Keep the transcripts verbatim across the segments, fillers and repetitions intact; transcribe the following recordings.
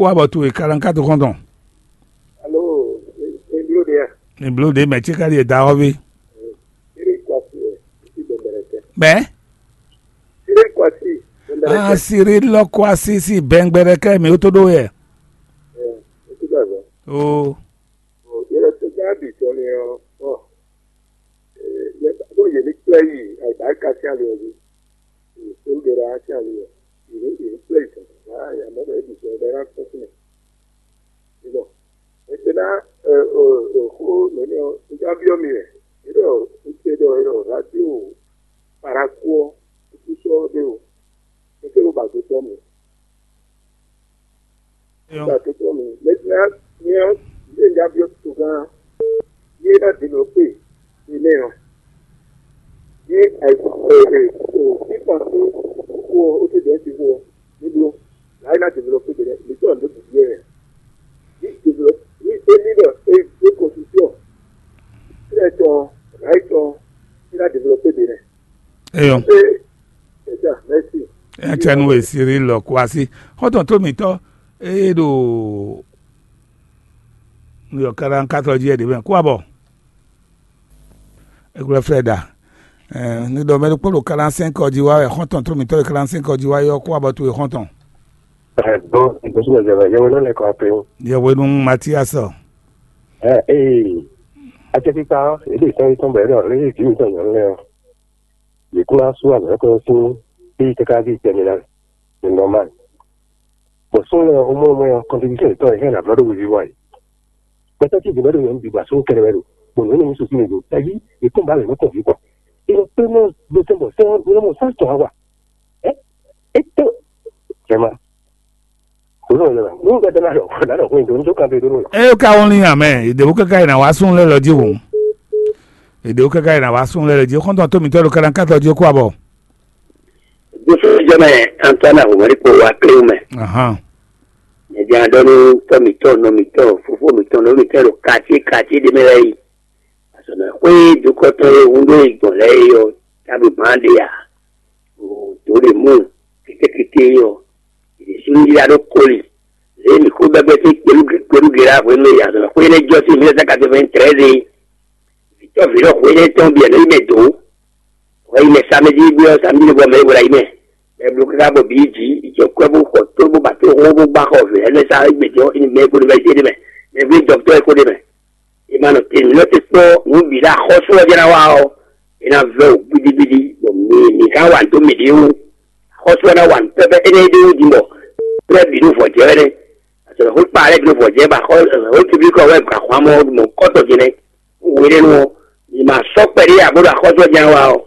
Kó abɔ towe kalankátu xɔ́ntɔn. Alo, eblo ɖe ya? Eblo ɖe mɛ ce ka ɖi eda ɔ́ ví. Siri kwasi ɛ, isi bɛbɛrɛ tɛ. Bɛ? Siri kwasi, bɛbɛrɛ tɛ. Ah, siri lɔ kwasi si bɛngbɛrɛ kɛ mi o to ɖo yɛ. Ɛ, esi bɛ vɛ. O. Yɛrɛ tó gán bì tɔ ni ɔ, ɔ, ɛ, yɛ, ɖo yɛ ní kplɛ yi, ayi ba ka si ali ɔ jí. Ɛ, tó ɖe ɖa si ali ɔ. Yɛ ní, yɛ ní kplɛ yi tɔ. Ah, ya mɔ bɛ ebi tɔ bɛ na kpɔ́n fún mi. Bon, maintenant, euh, euh, euh, xó nɛnɛ ɔ́, un ka byɔ́ mi wɛ. É ɖɔ un ce ɖɔ é ɖɔ radio Paraku ɔ́, un kú sɔ́ ɖé o. Un kérò ba do tɔ́ mi. Ba do tɔ́ mi. Maintenant, nyɛ ɔ́, yé un ka byɔ́ togán. Yé ná développé. Enɛ ɔ́, ní fífɔn sín xó ɔ́, ó ti dɛ̌ sín xó ɔ́, ní bló. Là é ná développé ɖě lɛ́ɛ, mǐ tɔn ɖě bǐ ɖíe wɛ. Ní développé, ní é ní ɖɔ é dó constitution, sílẹ̀ tɔn, là é tɔn, é ná développé ɖě lɛ́ɛ. Eyɔn. C'est ça, merci. Etsɛnu esiri lɔ kuasi. Xɔtɔn tó mǐtɔn, eye ɖo New York kaɖa katɔ jí ɛɖě mɛ kú abɔ. Eglɔ Freda. Ní ɖɔ mɛ ɖokpó ɖo quarante-cinq ɔ́ jí wá wɛ xɔ́ntɔn tó mǐtɔn e quarante-cinq ɔ́ jí wá yɔ kó abɔ towe xɔ́ntɔn. Ɛɛ, dɔn, ìgbésùn ẹ̀jẹ̀ rẹ̀ yẹwé ló lẹ̀ kọ́ pé ó. Yẹwé nú Matias ɔ. Ɛ ee, acɛkpikpa ɔ́, èdè sɔ́ yí tɔn bɔ é ɖɔ lé jǐ mitɔn nyɔ̌nu lɛ́ɛ ɔ́, yě kún ná sú azɔ̌ kɔn sín éyí káká ví tɛnmɛ ná. C'est normal. Bɔ sɔ́ lɛ́ɛ ɔ́, mɔ mɔ ɔ́, contribution yětɔn yě hɛn ablɔ́ ɖo wiwi wá yìí. Gbɛtɔ́ ce bǐ wɛ ɖo nyɔ̌nu bǐ gba só kɛɖɛ wɛ ɖo, bɔ nǔ énɛ́ nyí sosí mɛ do, tají yě kún ba mɛ nǔ kɔn vǐ kɔ. È nɔ kpé mɔ dó tɛn bɔ sɛ́n ɔ́, è nɔ mɔ sán tɔn wá wa. Ɛ é tó jɛma. Kò nɔ lɛ nú gbɛdɛ na ɖɔ na ɖɔ hwɛndo ní tó kan tó ɖó nɔ. Eye ka wɔn lin amɛ, ìdèwú kɛkɛ yìí na wá sún lɛ lɔ jí wò. Ìdèwú kɛkɛ yìí na wá sún lɛ lɔ jí. Xɔ́ntɔn tó mǐtɔn ɖo kɛɖɛ kátɔ jí kó abɔ. Joseph Jɛmɛ Antoine Ahomari kpo wa kléwu mɛ. Ahan. Nyɛ jɛ adɔ ní tɔ mǐtɔn, nɔ mǐtɔn, fofó mǐtɔn, nɔ mǐtɔn ɖo quartier quartier ɖé mɛ lɛ́ɛ yi. Azɔ̌mɛxwé dukɔtɔn e hun ɖó yi gbɔn lɛ́ɛ é ɔ́, tábǐ gbɔn ɖe ǎ. Dǒ ɖe mú kétékété é ɔ́, yě ɖésú ní yá ɖó koli. Lě e mǐ xó bɛ́gbɛ́ sín kpelúgbe kpelúgbe ɖá hwenu e azɔ̌mɛxwé énɛ́ jɔ sín mille neuf cent quatre-vingt-treize é, vǐtɔ́ vǐɖɔxwé énɛ́ tɔn bǐ ɔ́ nɔ yi mɛ dǒ. Wɛ yi mɛ samedi gbé ɔ́, samedi ɖé bɔ mɛ é hwlɛ́n yi mɛ. Mɛ bló káká bɔ bǐ yi jǐ, yi jɔ kwɛ́ bó xɔ tó bó ba tó xó bó gbá xɔ vǐ lɛ́ɛ sa égbé jɔ mɛ gbódó bɛ jé ɖé mɛ, mɛ bló dɔkutɔ́ é xó ɖé mɛ. È ma nɔ te nǔ lɛ́ɛ tɛ́ kpɔ́ nǔ bǐ ɖo axɔ́sú ɔ́ jɛ́n ná wa ɔ́, é ná vɛ́ wǔ gbidigbidi, bɔ mi mi ka wa dó mǐɖée wú. Axɔ́sú ɔ́ ná wa nǔ pɛ́pɛ́ énɛ́ ɖé wú din bɔ lɛ́ɛ bǐ ɖo vɔ̌ jɛ wɛ nɛ́. Azɔ̌mɛxwé kpa lɛ́ɛ bǐ ɖo vɔ̌ jɛ bɔ axɔ́ piblikɔ wɛ gba xwamɔ mɔ̌kɔtɔn din nɛ́. Hwenɛ́nu ɔ́, mi ma sɔ́ kpɛɖé ǎ bó ɖo axɔ́sú ɔ́ jɛ́n ná wa ɔ́,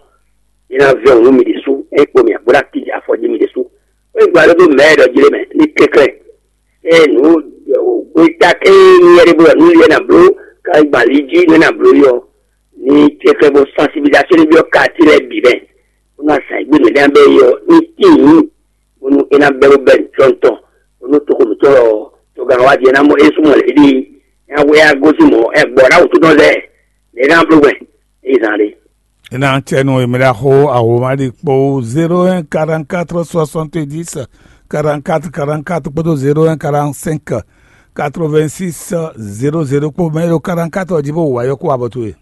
mi ná vɛ́ wǔ nú mi ɖésú, é kpo mi abó ná kíji afɔ jí mi ɖésú. É gba ɖó dó mɛ̌ ɖɔ jí lé mɛ ní kɛnklɛ́n. É nǔ gbeta kɛ́n ní yɛ ɖé bó ɖɔ nǔ liɛ ná bló, ka gba li jí nú é ná bló yi ɔ́, ní kɛnklɛ́n bó sansibilizasɔ́ ní byɔ́ kaatí lɛ́ɛ bǐ mɛ, bó ná zǎn gbé mɛ ɖé ná bɛ́ yi ɔ́, ní tíin bónú é ná bɛ́ bó bɛ́ nǔtɔ́ntɔn, bónú toxo mǐtɔn ɔ́, togán wá jɛ ná mɔ é súnmɔ lě ɖi, é ná wɛ á gosín mɔ̌, é gbɔ ná wǔtú tɔn lɛ́ɛ, lě é ná bló gbɛn, é zán ɖé. É ná cɛ nú èmi ɖaxó Awomali kpó zéro un quarante-quatre soixante-dix quarante-quatre quarante-quatre kpódó zéro un quarante-cinq quatre-vingt-six zéro zéro kpó mɛ ɖo quarante-quatre ɔ́ jí bó wǎ yɔ kó abɔ towe.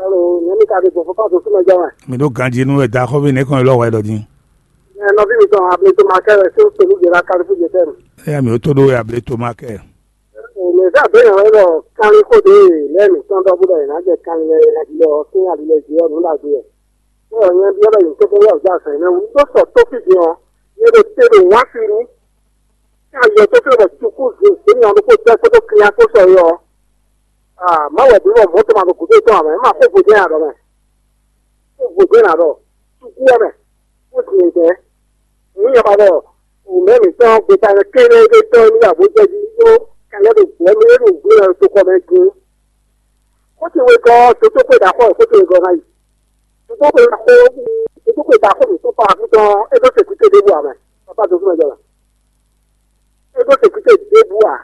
Alo, nyɛmi ka ɖe gbɔn fɔkàn tó súnmọ́ jẹ́ wɛn. Mi ɖó ganjí nú ẹ̀dá xɔ́ví nìkan lɔ wɛ ɖɔ jí. Ẹ nɔví mi tɔn ableto ma kẹ́ ẹ sí pẹ̀lú ìlera kálífù jẹ tẹ́lu. Ẹ̀yà mi ò tó ɖó ableto ma kẹ́. Mɛ fẹ́ àbẹ́yẹn wẹ́ lọ kánlí kó dé lẹ́nu tán dọ́ búdọ̀ yìí náà jẹ́ kánlí lẹ́yìn àdìlẹ́ ọ̀ sí àdìlẹ́ jù ọ́ nù dàgbé ẹ̀. Bẹ́ẹ̀ yẹn bí ọ̀dọ̀ yìí tó kó wẹ́ ọ̀já àṣà yìí náà wù tó sọ tó fìdí ọ̀ yẹn ló tẹ́ ló wá sí ní. Kí a yọ tó fẹ́ bọ̀ tukú zèzé ní ọdún kó tẹ́ kó tó kiri akó sọ yọ. Ah, má wɛ bí wọ́n mọ́tò máa bọ̀ kó tó tán àmọ́ ẹ̀ máa kó bòjẹ́ àdọ̀ mẹ́. Kó bòjẹ́ àdọ̀ tukú ẹ̀ mẹ́. Kó sì ń jẹ́. Ní ìyẹn bá bọ̀, òun mẹ́rin tán gbé ta ẹ̀ kéde dé tán ní àbójẹ́ bí yó kálẹ̀ ló gbọ́ mí ló gbé ẹ̀ tó kọ́ mẹ́ dín. Kó ti wé gọ́ tó tó pé dàkọ́ kó ti wé gọ́ náà yìí. Tó tó pé dàkọ́ tó tó pé dàkọ́ mi tó pa àkútọ́ ẹ̀ tó ṣèkú tó dé bú àmọ́. Bàbá tó fún ẹ̀ jọ̀rọ̀. Ego sekúté débú à.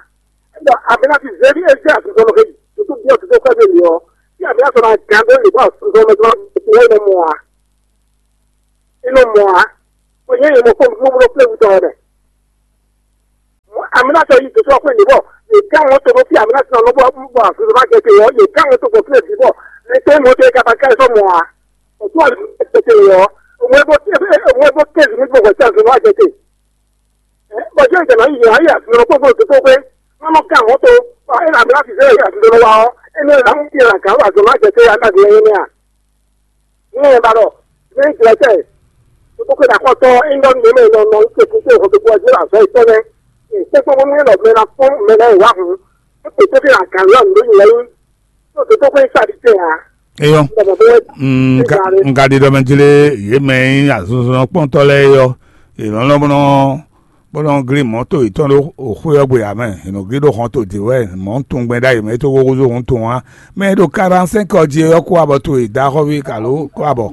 Ɛnɔ abena ti zévi eze azɔzɔlɔ ke tutu biɔ tutu kɔɛ bɛ liɔ. Ti abena sɔ na gan do libo azɔzɔlɔ mɛ dɔrɔn tutu wɛ nɔ mɔ a. Inɔ mɔ a. Ko nyɛ yɛ mɔ ko mlomlo kple wutɔ wɛ mɛ. Mɔ Amina sɔ yi tòtò ɔkpɛ nìbɔ, yě ká wọn tó bɔ fí amina sɔ lọ bɔ bɔ àfihàn má jẹ tè yọ, yè ká wọn tó bɔ fí èsì bɔ, lè tó mọ tó yẹ kaba ká sọ mọ a, òtún àlùkò tètè yọ, òun ẹ bọ òun ẹ bọ kéèzì ní gbogbo ẹsẹ àfihàn má jẹ tè. Bɔjɛ ìjànà yìí yà yà sọ̀rọ̀ kó fún òtútù pé wọ́n mọ̀ ká àwọn tó ẹ nà bí láti sẹ́yìn àti lọ́wọ́ wa ọ́, ẹni ẹ̀ làwọn kí ẹ̀ kà wà sọ̀rọ̀ àjẹsẹ́ aláàbí ẹ̀yìn ní à. Ní ẹ̀ bá lọ, ní ìjìnlẹ̀sẹ̀, tó tó kéde àkọ́tọ́, ẹ̀ ń lọ nínú ẹ̀ lọ́nà ń pè fún pé òkòtò pọ̀ sí àzọ ìtọ́ rẹ̀. Pépé wọn ní lọ mẹ́ra fún mẹ́ra ìwà hùn, ó pè tó kéde àkàrà lọ́nà lóyún lẹ́yìn, tó tó kéde sáré tẹ̀ á. Eyɔ. Bɔbɔ bɛ Mm, nka nka ɖi ɖɔ mɛ jlé yě mɛ nyí azɔnzɔnɔkpɔ́ntɔ́ lɛ́ɛ yɔ. Yě nɔ lɔn bó nɔ bó nɔ glí mɔ̌ to yětɔn ɖó xwé ɔ́ gbe ǎ mɛ. Yě nɔ glí ɖó hɔn to dě wɛ mɔ̌ tunwun gbɛn ɖ'ayǐ mɛ é tó gogo zó hɔn tunwun á. Mɛ e ɖo quarante-cinq ɔ jí é ɔ́ kó abɔ towe dó axɔ́ví kalo kó abɔ.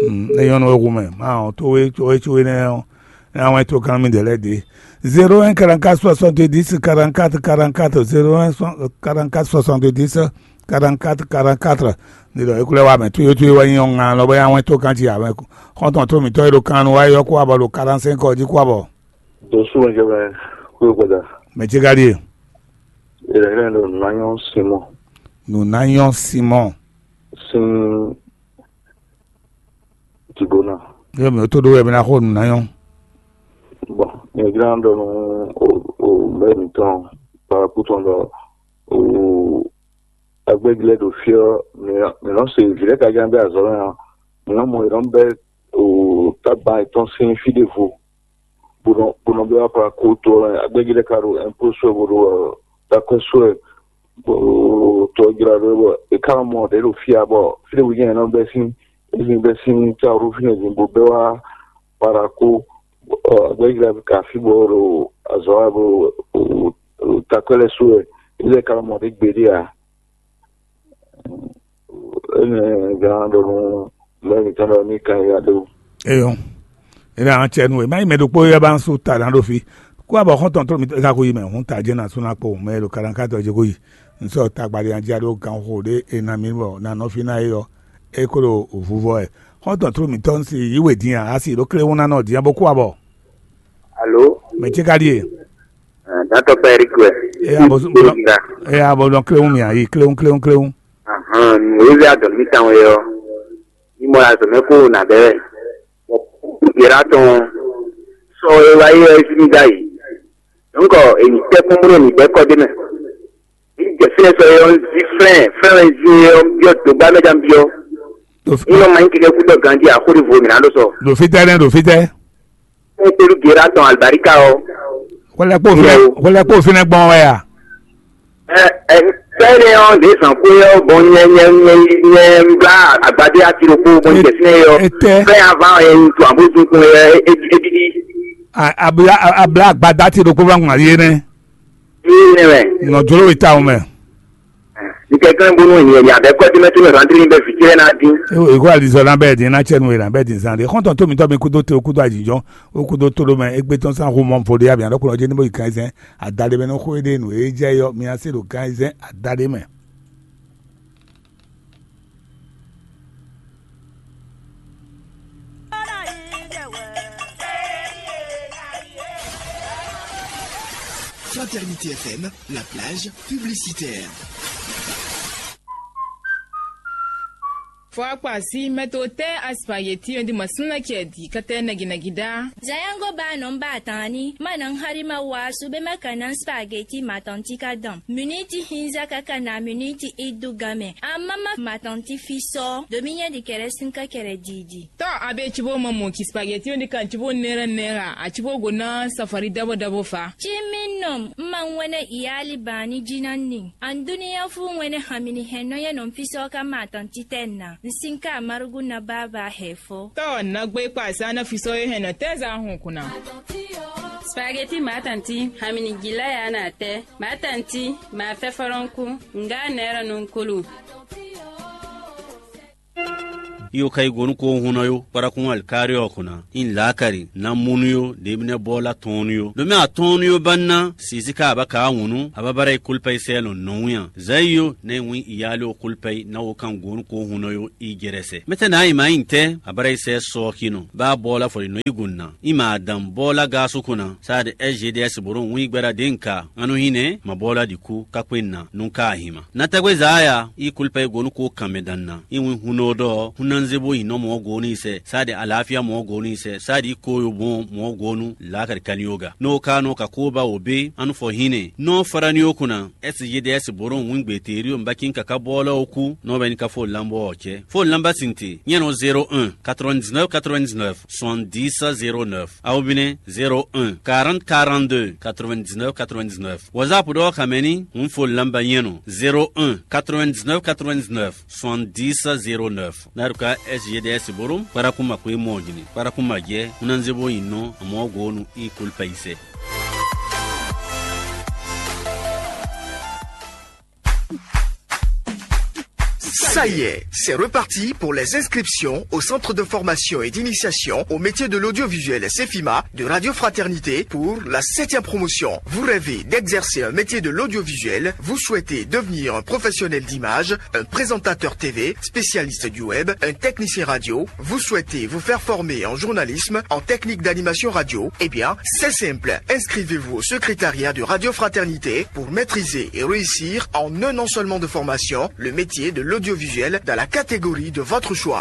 Mm, é nyɔ́ nú we hu mɛ. Má ɔ́, tó we tó we tó we nɛ́ ɔ́, é ná wɛn tó gán mì ɖě lɛ́ɛ ɖě. Zéro un quarante-quatre soixante-dix quarante-quatre quarante-quatre, zéro un quarante-quatre soixante-dix quarante-quatre quarante-quatre. Ní ɖɔ é kú lɛ́ wá mɛ, tó yó tó yó wɛ nyí ɔ́ ŋa lɔ bɔ é ná wɛn tó gán jí ǎ mɛ. Xɔ́ntɔn tó mǐtɔn e ɖo kan nu wá é ɔ́ kó wá bɔ ɖo quarante-cinq ɔ jí kó wá bɔ. Dosu mɛ jɛ mɛ kúrò gbada. Mɛ ce ka ɖíe? Ìrẹ̀lẹ̀ ló nà nyɔ́ Simon. Nǔ ná nyɔ́ Simɔn. Sin Dibona. Yɔ mɛ tó ɖó wɛ mɛ ná xo nǔ ná nyɔ́. Bon, mi jlá ɖɔ nú o o mɛ mitɔn kpakpú tɔn ɖɔ o agbɛ́gilɛ ɖo fí ɔ́, mi mi nɔ se vǐ lɛ́ɛ ka ján bɛ azɔ̌ mɛ ɔ́, mi nɔ mɔ yě nɔ bɛ o tágbán yětɔn sín fí ɖěvo. Bó nɔ bó nɔ bɛ wá kplá kó tó ɔ́ mɛ. Agbɛ́gilɛ ka ɖo ɛnpó sɔ́ bó ɖo takwɛ́ sɔ́ ɛ bó tɔjlá ɖó bɔ è ká nɔ mɔ ɖě ɖo fí ǎ bɔ fí ɖěbǔ jɛ́n è nɔ bɛ́ sín, è nɔ bɛ́ sín cawɖú fínɛ́ din bó bɛ́ wá Para kó agbɛ́jlá ka fí bɔ ɖo azɔ̌ wa bó takwɛ́ lɛ́ɛ su wɛ, é lɛ́ ka nɔ mɔ ɖě gbeɖé ǎ. Énɛ́ gán ɖɔ nú mɛ mǐtɔn ɖɔ ní kan ya ɖó. Eyɔn. Ina an cɛ nu e ma yi mɛ ɖokpó yɛ ba su ta na ɖo fi. Kó abɔ xɔntɔn tó mi ka ko yi mɛ hun ta jɛ na suna kpo mɛ ɖo kaɖankatɔ jɛ ko yi. N sɔ tagba ɖe an jia ɖo gan xo ɖe e na mi bɔ na nɔ fi na e yɔ. E ko ɖo vuvɔ ɛ. Xɔntɔn tó mi tɔ n si yi we din a asi ɖo kle wuna nɔ din a bo kó abɔ. Alo. Mɛ ce ka ɖi e. Dantɔ pɛ Eric wɛ. E ya bo bo. E ya bo dɔn kle wun mi a yi kle wun kle wun kle wun. Ahan, Moyize adɔn mi tan wɛ ɔ. Ní mɔ azɔ mɛ kó nà bɛ wɛ. Yɛrɛ atɔn sɔ e wa yi ɔ esi mi da yi. Donc èyí tɛ kún bolo ní bɛ kɔ dé mɛ. Ní jɛ fínɛ sɔ e ɔ zi flɛn flɛn wɛ zi e ɔ biɔ dogba mɛ jan biɔ. Ní ɔ ma nyí kékeré kútɔ ganji àkórí vo mìíràn ló sɔ. Ɖo fítɛ́ nɛ́ ɖo fítɛ́. Ní pẹ̀lú gèrè atɔn àlùbáríkà ɔ. Hwelɛkpo fínɛ hwelɛkpo fínɛ gbɔn wɛ a? Ɛ ɛ sɛnɛ ɔ ɖe zan kó yɔ bɔn nyɛ nyɛ nyɛ nyɛ bla agbadé ati ɖokpó bɔn jɛ fínɛ yɔ. Etɛ. Fɛn ava yɛ ŋutsu abo dunkun yɛ edidi. Abla abla agbada ti ɖokpó va ŋun ali yé nɛ. Ee nɛ mɛ. Nɔ jolo yi ta o mɛ. Ntɛkɛn bonu ènìyàn ní abẹ́ kọ́ dímẹ́ tó mẹ́ rán dín bẹ́ẹ̀ fi jẹ́ náà dín. Eko alizɔ na bɛɛ din na cɛ nu na bɛɛ din zan de xɔntɔn to mi tɔ mi kudo te okudo ajijɔ okudo to ɖo mɛ egbe tɔn san xo mɔ fo de abi anɔ kunɔ jɛ ni bo yi kan zɛn adade mɛ nɔ xo ede nu e jɛ yɔ mi ase ɖo kan zɛn adade mɛ. Fraternité F M, la plage publicitaire. Fɔ akpa si mɛ to tɛ aspageti ɔ́ di ma súnna kɛ di kɛtɛ nɛgɛnɛgɛ dá. Zayango ba nɔ ba tani ma na hari ma wa su be ma kana spaghetti matanti ka dam. Miniti hinza kaka na miniti idu game. Amama matanti fisɔ. Dominya di kɛrɛ sinka kɛrɛ didi. Tɔ abe cibo ma mɔ ki spaghetti ɔ́ di kan cibo nɛra nɛra a cibo go na safari dabo dabo fa. Ci mi nɔ ma ŋwɛnɛ iyali bani jina ni. An duniya fu ŋwɛnɛ hamini hɛn nɔ yɛ nɔ fisɔ ka matanti tɛ na. N sinka marugu na baba hɛ fɔ. Tɔ nagbe kpa sa na fisɔ ye hɛn nɔ tɛ za hun kuna. Spaghetti matanti hamini gila ya na tɛ. Matanti ma fɛ fɔlɔnku nga nɛra nunkulu. Iyo ka yi go nú ko hun nɔ yo, kpara kún alikaari ɔ́ kɔn ná. In laakari, na munu yo, ɖe mi nɛ bɔ la tɔn yo. Ɖo mi atɔn yo ba na, sisi ka aba ka wunu, aba bara yi kulpa yi sɛ lɔ nɔ wun ya. Zayi yo, ne wun iyali o kulpa yi, na wo kan go nú ko hun nɔ yo i jɛrɛ sɛ. Mɛtɛ na yi ma yi tɛ, abara yi sɛ sɔ kinɔ. Ba bɔ la fɔ yi nɔ yi gun na. I ma adam bɔ la ga so kɔn na. Sa de S G D S boro wun yi gbɛra de nka. Anu hinɛ, ma bɔ la di ku, ka kpe na, nu ka ahima. Na tɛgbe za ya, i kulpa yi go nú ko kan mɛ dan na. I wun hun nɔ dɔ, hun na nze bo yi nɔ mɔ go ni sɛ. Sa de alafia mɔ go ni sɛ. Sa de i ko yo bon mɔ go nu, la kari kani yoga. N'o ka nɔ ka ko ba wo be, anu fɔ hinɛ. Nɔ fara ni o kunna, S G D S boro wun gbe teriyo mbakin kaka bɔ lɔ o ku, n'o bɛ ni ka fo lambɔ ɔ cɛ. Fo lamba sinte, nyɛ nɔ zéro un, quatre-vingt-dix-neuf, quatre-vingt-dix-neuf, soixante-dix, zéro neuf. Awo bine, zéro un, quarante, quarante-deux, quatre-vingt-dix-neuf, quatre-vingt-dix-neuf. WhatsApp dɔ kamɛni, un fo lamba nyɛ nɔ, zéro un, quatre-vingt-dix-neuf, quatre-vingt-dix-neuf, soixante-dix, zéro neuf. Naruka S G D S boro, kpara kuma kwe mɔ jini, kpara kuma jɛ, un na nze bo yi nɔ, amɔ go nu i kulpa yi sɛ. Ça y est, c'est reparti pour les inscriptions au centre de formation et d'initiation au métier de l'audiovisuel Cefima de Radio Fraternité pour la septième promotion. Vous rêvez d'exercer un métier de l'audiovisuel, vous souhaitez devenir un professionnel d'image, un présentateur T V, spécialiste du web, un technicien radio, vous souhaitez vous faire former en journalisme, en technique d'animation radio, eh bien, c'est simple. Inscrivez-vous au secrétariat de Radio Fraternité pour maîtriser et réussir en un an seulement de formation le métier de l'audiovisuel dans la catégorie de votre choix.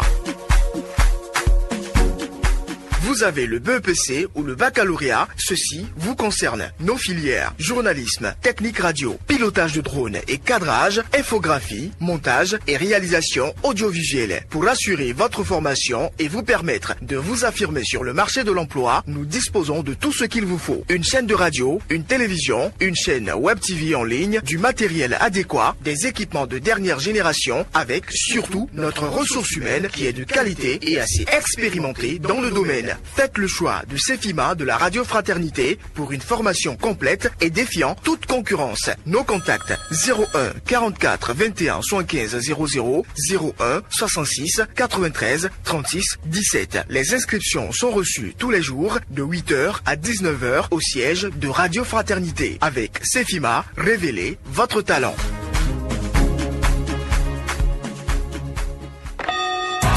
Vous avez le B E P C ou le baccalauréat, ceci vous concerne. Nos filières, journalisme, technique radio, pilotage de drone et cadrage, infographie, montage et réalisation audiovisuelle. Pour assurer votre formation et vous permettre de vous affirmer sur le marché de l'emploi, nous disposons de tout ce qu'il vous faut. Une chaîne de radio, une télévision, une chaîne web T V en ligne, du matériel adéquat, des équipements de dernière génération, avec surtout notre ressource humaine qui est de qualité et assez expérimentée dans le domaine. Faites le choix de Cefima de la Radio Fraternité pour une formation complète et défiant toute concurrence. Nos contacts, zéro un, quarante-quatre, vingt et un, soixante-quinze, zéro zéro, zéro un, soixante-six, quatre-vingt-treize, trente-six, dix-sept. Les inscriptions sont reçues tous les jours de huit heures à dix-neuf heures au siège de Radio Fraternité. Avec Cefima, révélez votre talent.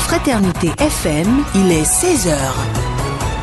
Fraternité F M, il est seize heures.